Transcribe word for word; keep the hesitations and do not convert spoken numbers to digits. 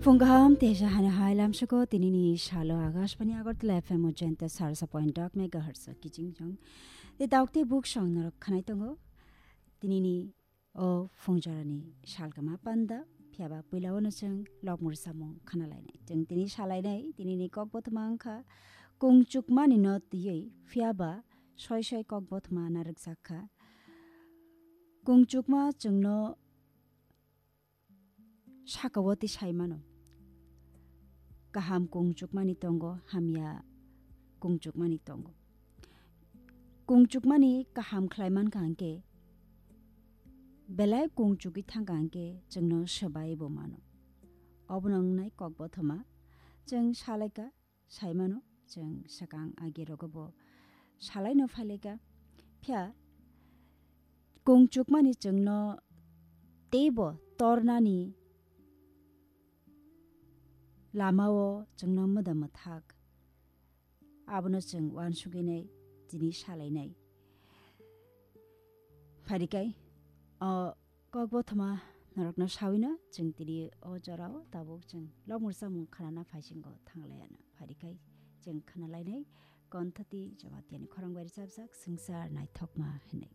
Phung kaham teisa hani hai lamsoko tinini salo Akashbani Agartala F M o jenta sarsa point dok megahertz o kiching jong. Te dauk te buk song norok khanai tongo. Tinini o phungjorani salkama panda, phiyaba puila ono chwng lokmur samung khana lainai. Chwng tini salainai, tinini kok bothoma wngkha kungchukmani no twiwi, phiyaba soi soi kok bothoma narwkjak kha. Kungchukma chwngno sakao twi sai mano. Kaham kungchukmani tongo, hamya kungchukmani tongo. Kungchukmani kaham khlai mankha hwnkhe, belai kungchugwi thangkha hwnkhe chwngno swbai bo mano. Obono wngnai kok bothoma. Chwng salaikha, saimano, chwng swkang agirogo bo salaino phailaikha. Phiya kungchukmani chwngno teibo tornani lamao chwngno mwda mwthak. Abono chwng uansugwi nai, tini salainai. Pharikai, o kok bothoma norokno sawino chwng tini o jorao tabuk chwng lokmur samung khanana phaisingo thanglaiano. Pharikai chwng khanalainai Konthati Jamatia ni khorang bai rwchapjak Swngchar Naithokma hinwi.